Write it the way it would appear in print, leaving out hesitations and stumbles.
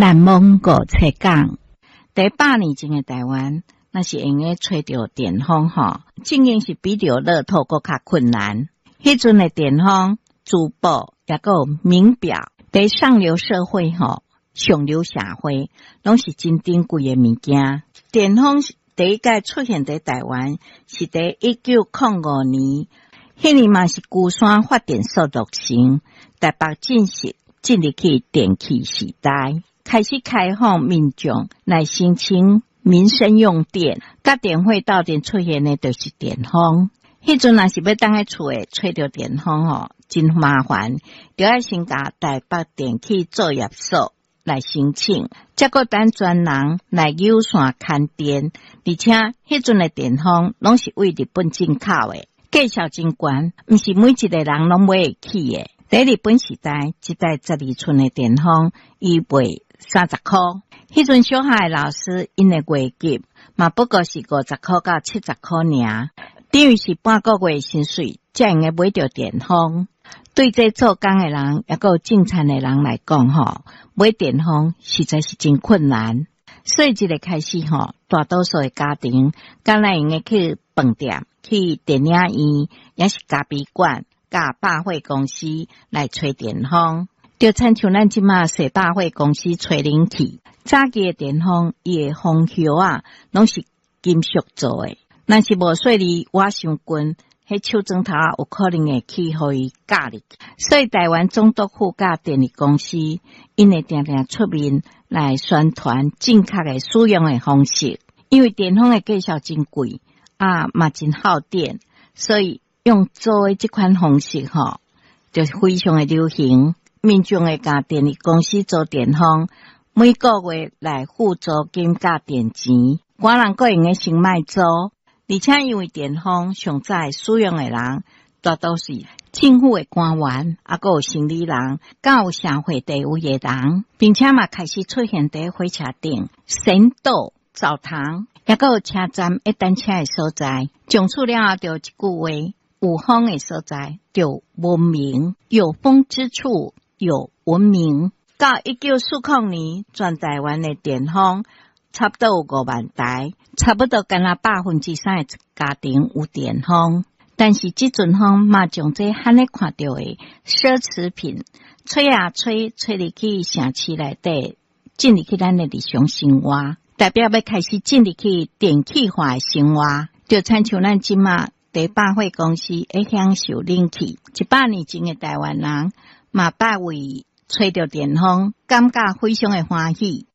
難忘五七講。佇100年前的台灣，若是會用得揣著電風吼，正經是比著樂透閣較困難。彼陣的電風、珠寶，抑閣有名錶，佇上流社會吼，上流社會，攏是真珍貴的物件。電風第一擺出現佇台灣，是佇1905年，彼年嘛是龜山發電所落成，台北正式進入去電氣時代，開始開放民眾來申請民生用電，佮電費鬥陣出現的就是電風。彼陣若是欲踮咧厝內揣著電風吼，真麻煩，著愛先共台北電氣作業所來申請，才閣等專人來扭線牽電。而且彼陣的電風攏是對日本進口的，價數真懸，毋是每一個人攏買會起的。佇日本時代，一台12寸的電風，伊賣30箍。彼陣小學的老師，𪜶的月給嘛不過是50箍到70箍爾，等於是半個月薪水，才會用得買著電風。對這做工的人，抑閣有種田的人來講，吼，買電風實在是真困難。所以這个開始，吼，大多數的家庭，敢若會用得去飯店、去電影院，抑是咖啡館、佮百貨公司來吹電風。就親像咱這馬踅百貨公司吹冷氣，早期的電風，伊的風葉仔，攏是金屬做的，若是無細膩倚傷近，彼手指頭有可能會去予伊咬入去。所以台灣總督府佮電力公司，𪜶會定定出面來宣傳正確的使用的方式。因為電風的價數真貴，啊嘛真耗電，所以用租的這款方式吼，就非常的流行。民眾會共電力公司租電風，每個月來付租金佮電錢，寡人閣會用得先莫租。而且因為電風上早使用的人，大多是政府的官員，抑閣有生理人，佮有社會地位的人，並且嘛開始出現佇火車頂、神道、澡堂，抑閣有車站會等車的所在。從此了後，就一句話：有風的所在就文明，有風之處有文明。到1940年，全台灣的電風差不多有5萬台，差不多敢若3%的家庭有電風。但是這陣風嘛，將這罕咧看著的奢侈品，吹啊吹，吹入去城市內底，進入去咱的日常生活，代表欲開始進入去電氣化的生活，就親像咱這馬佇百貨公司會享受冷氣。100年前的台灣人嘛，捌為揣著電風，感覺非常的歡喜。